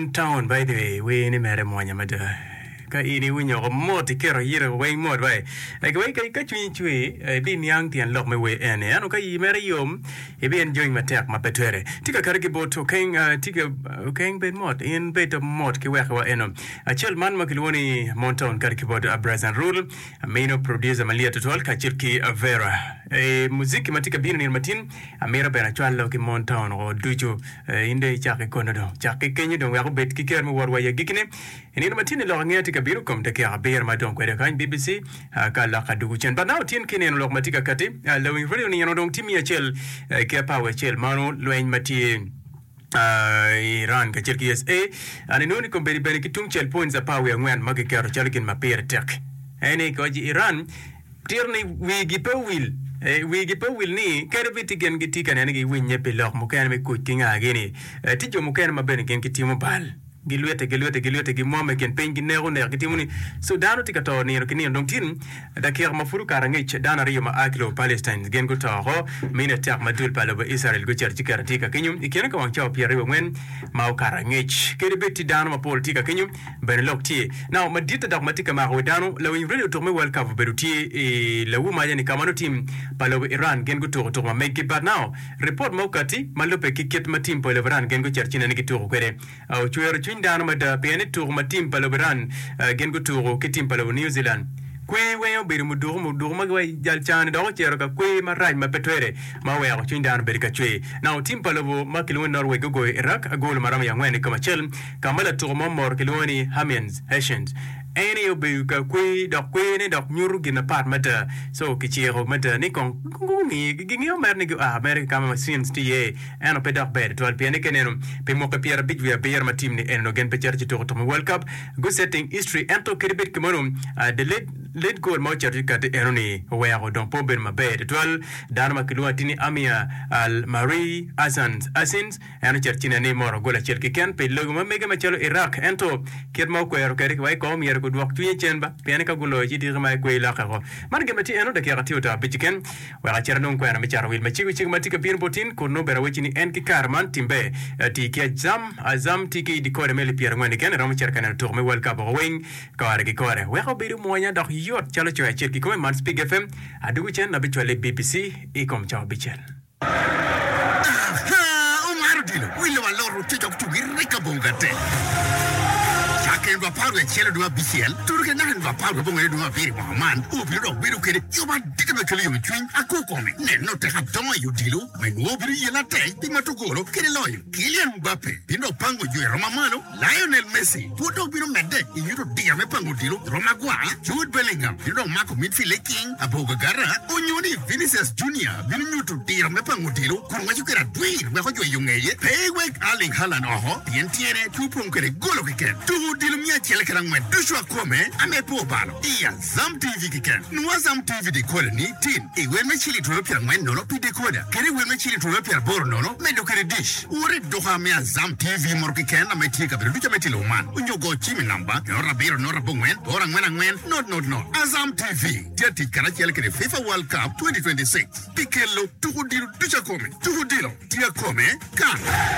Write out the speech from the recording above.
Mon town by the way wer ni mere mwonya mada ka in iwinyo oko mot iketo yito weng mot bai like wai ka cwinyi cwer ibi niang tyen lok me wer eni ento ka iyi mere yom ibi enjoying matek ma pe twere tye ka kati ki bot okeng tye ka okeng bed mot in bed mot ki weko wa eno acel man ma kilwongo ni Mon town kati ki bot Bryson Rule amino producer malyet tutwal kacel ki Vera muziki ma tye ka bino nino matin amito bene acwalo ki Mon town o ducu. In dong icak ki kono dong. Cak ki kenyo dong wek obed ki ker me wot wa i agikkine. I nino ma tye-ni lok angeya tye ka bino kom dakika abiro ma dong kwede kany BBC ka lok adugu cen. But now tin ki neno lok ma tye ka kati, lawiny radio nino dong tye miya acel ki apar wiye acel mano lweny ma tye i Iran kacel ki USA. An inongo ni kombeddi bene ki tung cel points apar wiye angwen ma kiketo calo gin ma pire tek. En ni koc Iran Tito ni wigi pe owil. Wigi pe owil ni kadi bed ti gin gitye ka neno ni giwinnye pi lok mukene me kuc ki ngagi-ni, tye jo mukene ma bene gin gitimo bal. Gilwite, gilwite, gilwite, gimwomme i kin piny, gineko nek, gitimo ni so dano tye ka to nino ki nino. Dong tin, dakika ma pud okato angec, dano aryo ma a ki lobo Palestine gin guto oko. Mine atek ma dul pa lobo Icrael gucito ci keto tye ka kenyo i kine ka wang cawa pyeraryo angwen ma okato angec. Kadi bed tye dano mapol tye ka kenyo, Bene lok tye now maditte dok ma tye ka mako wi dano. Lawiny radio tuko me World Cup obedo tye i lawu maca ni ka ma nongo team pa lobo Iran gin gutuko tuko ma meggi but now report ma okati ma lubbe ki kit ma team pa lobo Iran gin gucito ci nene gituko kwede ocwero cwiny dano mada pien ni tuko ma team pa lobo Iran gin gutuko ki team pa lobo New Zealand kwer weng obedo muduku muduku ma giwaci jal cani dok ocito ka kwer marac ma pe twere ma oweko cwiny dano obedo ka cwer. Now team pa lobo ma kilwongo ni Norway gugoyo Iraq agolo ma romo i angwen i kom acel. Ka ma latuko mo moro kilwongo ni Hermiens, Hessians, en aye obedo ka kwer dok kwerne dok nyuto gin mapat mada. So kiciko mada ni kong gungi, gingeyo mere ni gua mere ki ka ma machines tye iye, ento pe dok ber tutwal pien ni ka ineno pi mwaki pyerabic wiye abiro ma team ni eni onongo gin pe cito ci tuko tuko me World Cup, gu setting history ento kadi bed kumeno the late late goal ma ocito ci kati eno ni oweko dong pe obedo maber tutwal. Dano ma kilwongo atir ni Amir Al Marie Asans, Asins, En ocito ci nene ni moro gol acel keken pi lobo ma mege macalo Iraq. Ento, kit ma okwero kwede ki wai kong myero gudwok cwinye cen ba, pien ni ka guloyo ci diki ma ekwer lokke oko. Man gin ma tye eno dakika tye oto abic keken. Wek acit anong kwena me cato wil macego cego ma tye ka bino bot in, kun nongo bene awecci ni en ki kare man timbe tye ki Azam. Azam tye ki decoder me alip pyerangwen keken. Iromo cito ka neno tuko me World Cup oko weng kore ki kore. Wek obedo mwonya dok yot calo coyo acel kikome man Spig FM. Adugo cen abicwale i BBC i kom cawa abicel. Aha! Omaro odilo, wilo alot ococo tugi rek abongo gatek. Cakke nino apar wiye acel dwe abicel tudo ki naka nino apar wiye abongwen dwe abiro i mwaka man, obino dok bedo kede yub adita me kelo yomcwiny akwo kome. Neno tek adongo i odilo ma inwongo obino yelle atek pi mato golo kede loyo. Kylian Mbappe bino dok pango jwer rom amalo. Lionel Messi pud dok bino medde i nyuto diro me pango odilo i rom agwar, Jude Bellingham bino dok mako midfield i king abogagara, onyo ni Vinicius Junior bino nyuto diro me pango odilo kun waco kwede adwir wek ojweyo ngeye. Pe iwek Erling Haaland oko pien tyene pe opong kwede golo keken. Tuko odilo miya acel kede angwen ducu akome ame pe obalo i Azam TV keken. Nwo Azam TV decoder ni tin i wel me ciling twero pyerangwen nono pi decoder kede i wel me ciling twero pyeraboro nono medo kwede dish. Wot i duka me Azam TV moto keken ame tye i kabedo ducu ame tye i lobo man onyo go cim i namba not abiro not abongwen boro angwen angwen not not not. Azam TV tye atic karacel kede FIFA World Cup 2026 pi kelo tuko odilo ducu akome. Tuko odilo tye akome kan.